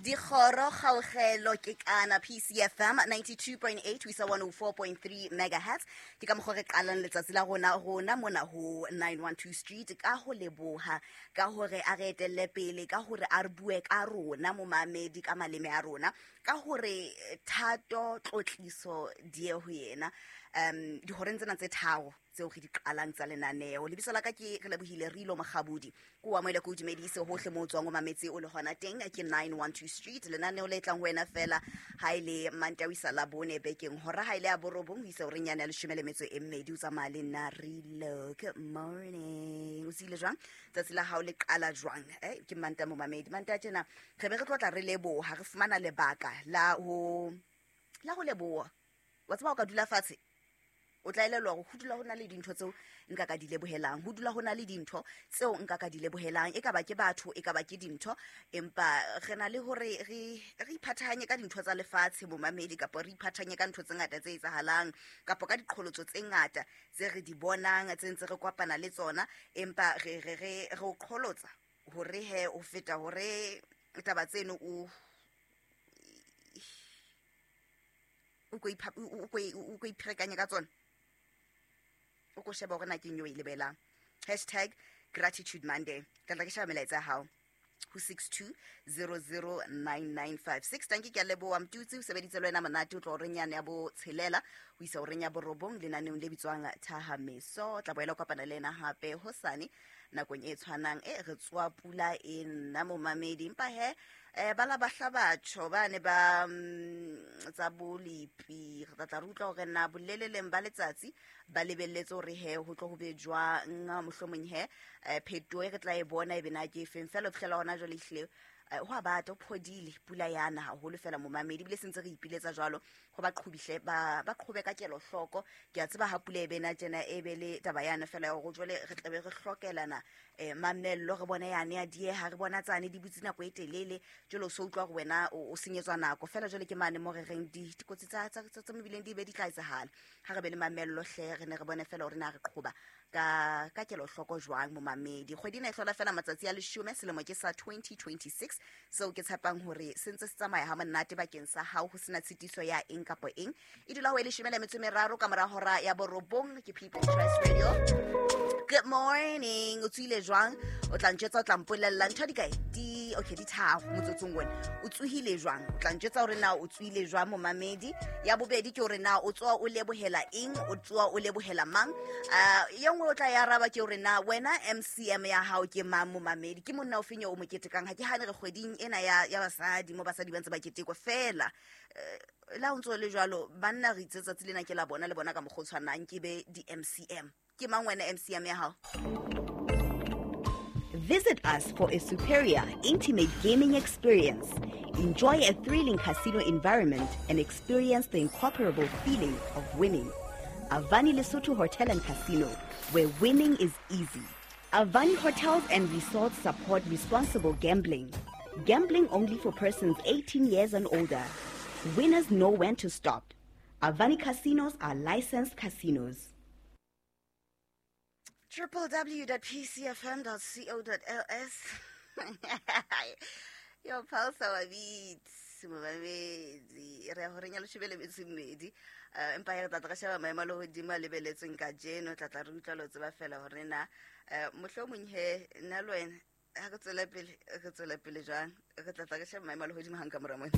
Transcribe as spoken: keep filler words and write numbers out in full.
Dikgoro kgaogelo ke kana P C F M ninety-two point eight ho isa one oh four point three megahertz. Ke ka mokgwa re qalang letsatsi la rona rona mona ho nine one two Street ka ho leboha ka hore a re etelle pele, ka hore a re bue ka rona momamedi ka maleme a rona, ka hore thato tlotliso di ye ho yena. Um dihoreng tsena tse tharo tseo re di qalang tsa lenaneo. Lebitso la ka ke re lebohile Rilo Mokgabudi. Ko wa moele ko dumedise hohle moo o tswang o mametse o le hona teng ke nine one two Street. Lenaneo le tlang ho wena fela ha ile Mantawisa la bone bekeng hora ha ile ya borobong ho isa horeng yane ya leshome le metso e mmedi. O tsamaya le nna Rilo. Good morning. O tsile jwang? Tsatsi la hao le qala jwang? Eh, ke Manta momamedi. Manta tjena re be re tlo tla re leboha, re fumana lebaka la ho la ho leboha. Wa tseba o ka dula fatshe o tla elellwa hore ho dula ho na le dintho tseo nka ka di lebohelang, ho dula ho na le dintho tseo nka ka di lebohelang, e ka ba ke batho, e ka ba ke dintho, empa re na le hore re re iphathahanye ka dintho tsa lefatshe momamedi, kapa re iphathahanye ka ntho tse ngata tse etsahalang, kapa ka diqholotso tse ngata tse re di bonang tse ntse re kopana le tsona, empa re re re re o qholotsa hore he o feta hore taba tseno o o ko ipha-, o ko, o ko ipherekanye ka tsona. O ko sheba hore na ke eng eo e lebelang. Hashtag Gratitude Monday. Ka tla ke sheba melaetsa ya hao ho six two zero zero nine nine five six. Tanki, ke a leboha Mtutsi, o sebeditse le wena monate, o tlo horeng yane ya botshelela ho isa horeng ya borobong lenaneong le bitswang Thahameso. Tla boela o kopana le ena hape hosane nakong e tshwanang. E re tswa pula e nna momamedi, empa he eh, ba la bahla batho ba ne ba, mm, tsa bolipi. Re tla tla re utlwa hore na boleleleng ba letsatsi ba lebelletse hore he ho tlo ho be jwang, mohlomong he, eh, phetoho e re tla e bona e be na ke efeng. Feela ho fihlela hona jwale ehlile, eh, ho a bata, ho phodile pula yana haholo fela momamedi, ebile se ntse re ipiletsa jwalo ho ba qhobihle, ba, ba qhobe ka kelohloko. Ke a tseba ha pula e bena tjena e be le taba yana fela ya hore jwale re tla be re hlokelana, eh, mamello, re bone yane ya dieha, re bona tsane di butse nako e telele, jwale o so utlwa hore wena o, o senyetswa nako fela. Jwale ke mane mo re reng di-, dikotsi tsa, tsa, tsa, tsa mebileng di be di tla etsahala. Ha re be le mamello hle, re ne re bone fela hore na re qhoba ka, ka kelohloko jwang momamedi. Kgwedi ena e hlola fela matsatsi a leshome, selemo ke sa twenty twenty-six, seo ke tshepang hore se ntse se tsamaya ha monate bakeng sa hao, ho sena tshitiso ya eng kapa eng. E dula ho e leshome le metso e meraro ka mora hora ya borobong. Ke People's Choice Radio. Good morning. O tsohile jwang? O tla ntjwetsa, o tla mpolella ntho di kae? Di, okay, di tharo motsotsong ona. O tsohile jwang? O tla ntjwetsa hore na o tsohile jwang momamedi. Ya bobedi ke hore na o tsoha o lebohela eng, o tsoha o lebohela mang? Ah, e nngwe o tla e araba ke hore na wena M C M ya hao ke mang momamedi? Ke monna o feng eo o mo ketekang? Ha ke hane re kgweding ena ya, ya basadi mo basadi ba ntse ba ketekwa fela. Eh, la ho ntso le jwalo, banna re itse tsatsi lena ke la bona le bona ka mokgwa o tshwanang, ke be di M C M. Ke mang wena M C M ya hao? Visit us for a superior, intimate gaming experience. Enjoy a thrilling casino environment and experience the incomparable feeling of winning. Avani Lesotho Hotel and Casino, where winning is easy. Avani Hotels and Resorts support responsible gambling. Gambling only for persons eighteen years and older. Winners know when to stop. Avani Casinos are licensed casinos. triple w dot p c f m dot c o dot l s. Yo, pulse our beats, momamedi. Re ya horeng ya leshome le metso e mmedi. Eh, empa re tla tla re sheba maemo a lehodimo a lebeletsweng kajeno, tla tla re utlwa lo tseba fela hore na, eh, mohlomong he, nna le wena, ha re tswela pele, re tswela pele jwang? Re tla tla re sheba maemo a lehodimo hang ka mora mona.